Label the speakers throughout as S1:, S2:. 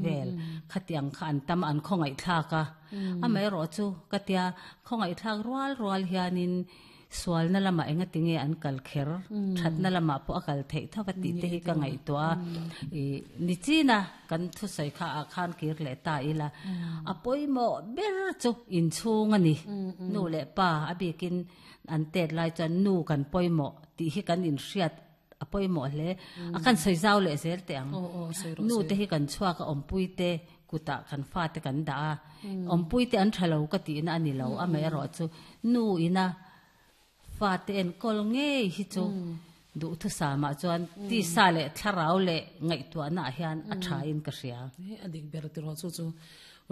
S1: vel khatiang kha an tam a an khawngaihthlak a amaherawh chu ka tia khawngaihthlak rual rual hianin sualna lamah enga tinge an kal kher thatna lamah pawh a kal theih tho va tih te hi ka ngaihtuah a ih nichina kan thusawi kha ah khan kir leh ta ila a pawimawh ber chu inchhung a ni nu leh pa a bikin an tet lai chuan nu kan pawimawh tih hi kan inhriat a pawimawh hle a kan sawi zau leh zel teh ang nu te hi kan chhuak a awmpui te kutah kan fate kan dah a awmpui te an tha lo ka tihna a ni lo amaherawh chu nu ina fate enkawl ngei hi chu duhthusam ah chuan tisa leh thlarau leh ngaihtuahna ah hian a tha in ka hria.
S2: A dik ber tiraw chu chu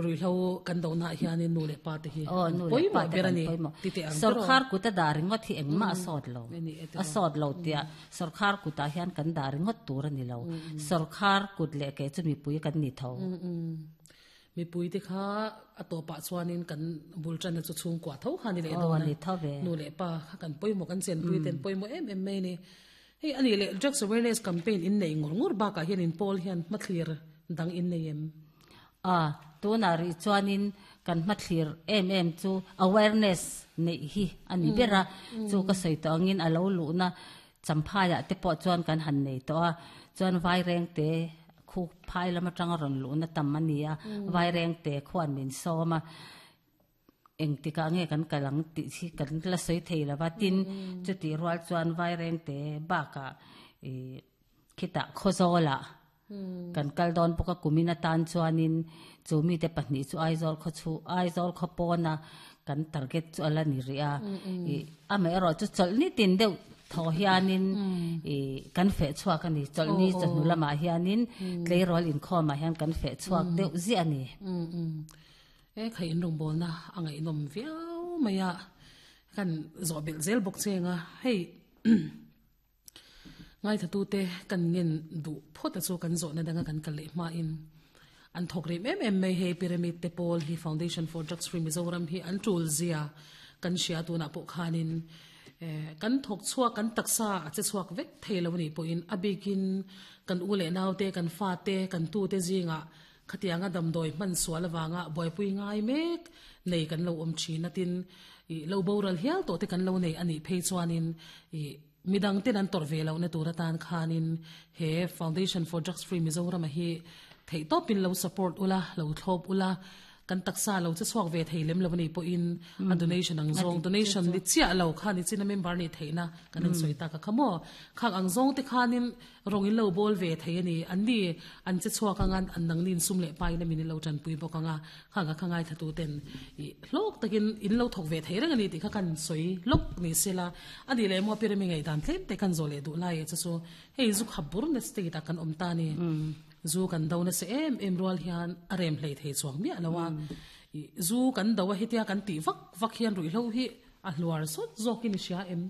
S2: Ruihhlo kan dohnaah hianin nu leh pa te hi an pawimawh ber a ni ti teh ang tiraw?
S1: Sorkar kut a dah ringawt hi engmah a sawt lo. A sawt lo tia sorkar kutah hian kan dah ringawt tur a ni lo. Sorkar kut leh ke chu mipui kan ni tho.
S2: Mipui te kha a tawpah chuanin kan bul tanna chu chhungkua tho kha a ni leh dawn a. Nu leh pa kha kan pawimawh, kan chenpui te an pawimawh em em mai a ni. Hei a nih leh Drugs Awareness Campaign in nei ngawr ngawr bakah hian in pawl hian hmathlir dang in nei em?
S1: A, tunah rih chuanin kan hmathlir em em chu awareness neih hi a ni ber a, chu ka sawi tawh angin a lo luhna champhaiah te pawh chuan kan han nei tawh a, chuan Vairengte khu phai lam atanga rawn luhna tam a ni a, Vairengte khuan min sawm a. Engtikah nge kan kal ang tih hi kan la sawi thei lo va, tin chutih rual chuan Vairengte bakah ih khitah Khawzawlah kan kal dawn bawk a, kumin atan chuanin chu mite pahnih chu Aizawl khaw chhu Aizawl khaw pawna kan target chu a la ni rih a, ih amaherawh chu chawlhni tin deuh thaw hianin ih kan feh chhuak a ni, chawlhni chawhnu lamah hianin tleirawl inkhawmah hian kan feh chhuak deuh ziah a ni.
S2: He khai inrawngbawlna a ngaihnawm viau mai a, kan zawh belh zel bawk che ang a, hei ngaithlatute kan ngen duh phawt a chu kan zawhna danga kan kal leh hmain an thawk rem em em mai hei Pyramid te pawl hi Foundation for Drugs Free Mizoram hi an tul zia kan hria tunah pawh khanin kan thawk chhuak kan taksa a che chhuak vek thei lo a nih pawhin a bikin kan u leh naute kan fate kan tute zingah Khatianga damdawi hman sual avanga buaipui ngai mek nei kan lo awm thin a, tin ih lo boral hial tawh te kan lo nei a nih phei chuanin ih midang ten an tawrh ve lohna tur atan khanin he Foundation for Drugs Free Mizoram a hi theihtawpin lo support ula, lo thlawp ula, kan taksa lo che chhuak ve thei lem lo a nih pawhin a donation ang zawng, donation ni chiah lo kha ni chin a member nih theihna kan rawn sawi tak a kha maw? Khang ang zawng te khanin Rawng in lo bawl ve thei a ni. An ni, an che chhuak anga an nangni in sum leh pa in a min in lo tanpui bawk anga, khang a kha ngaithla ten ih hlawk takin in lo thawk ve thei reng a ni tih kha kan sawi lawk ni sela. A nih leh maw Pyramid ngaihdan tlem te kan zawh leh duh lai e chu chu hei zu khap bur na state ah kan awm ta ni. Zu kan do nasa em em rual hian a rem hlei thei chuang miah lo a. Ih zu kan do a hetia kan tih vak vak hian ruihhlo hi a hluar sawt zawkin i hria em?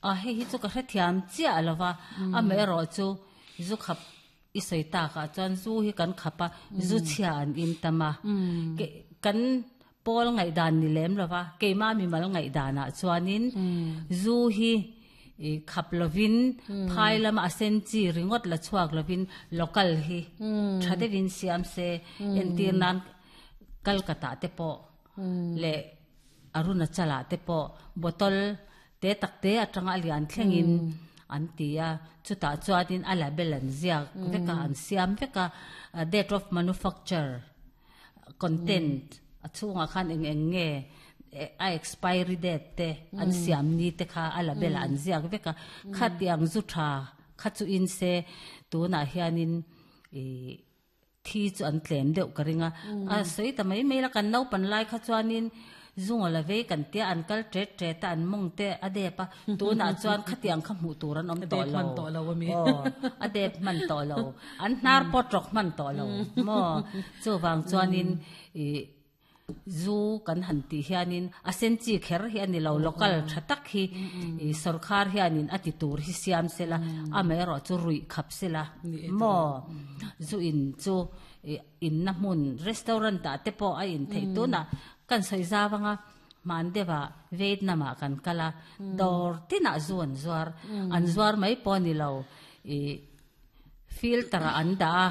S1: A hei hi chu ka hrethiam chiah lo va, amaherawh chu zu khap i sawi takah chuan zu hi kan khap a, zu chhia an in tam a, kan pawl ngaihdan ni lem lo va, keimah mimal ngaihdanah chuanin zu hi khap lovin phai lama a sen chi ringawt la chhuak lovin local hi tha deuhin siam se entir nan Kolkata te pawh leh Arunachal-ah te pawh bottle te tak te atanga a lian thlengin an ti a, chutah chuanin a label an ziak vek a, an siam vek a, date of manufacture, content a chhungah khan eng eng nge a expiry date te an siam ni te kha a label ah an ziak vek a, khatiang zu tha kha chu in se tunah hianin ih. Thi chu an tlem deuh ka ring a, a sawi ta mai mai la, kan naupan lai kha chuanin zunga la vei kan tia an kal tet tet a, an mawng te a dep a, tunah chuan khatiang kha hmuh tur an awm tawh lo, aw a dep hman tawh lo, an hnar pawh tawk hman tawh lo maw, chuvang chuanin ih. Zu kan han tih hianin a sen chi kher hi a ni lo, local tha tak hi ih sorkar hianin a ti tur hi siam sela, amaherawh chu ruih khap sela maw? Zu in chu ih inna hmun restaurant ah te pawh a in theih tunah kan sawi zau anga hman deuhah Vietnam ah kan kal a, dawr tinah zu an zuar, an zuar mai pawh a ni lo ih filter ah an dah a.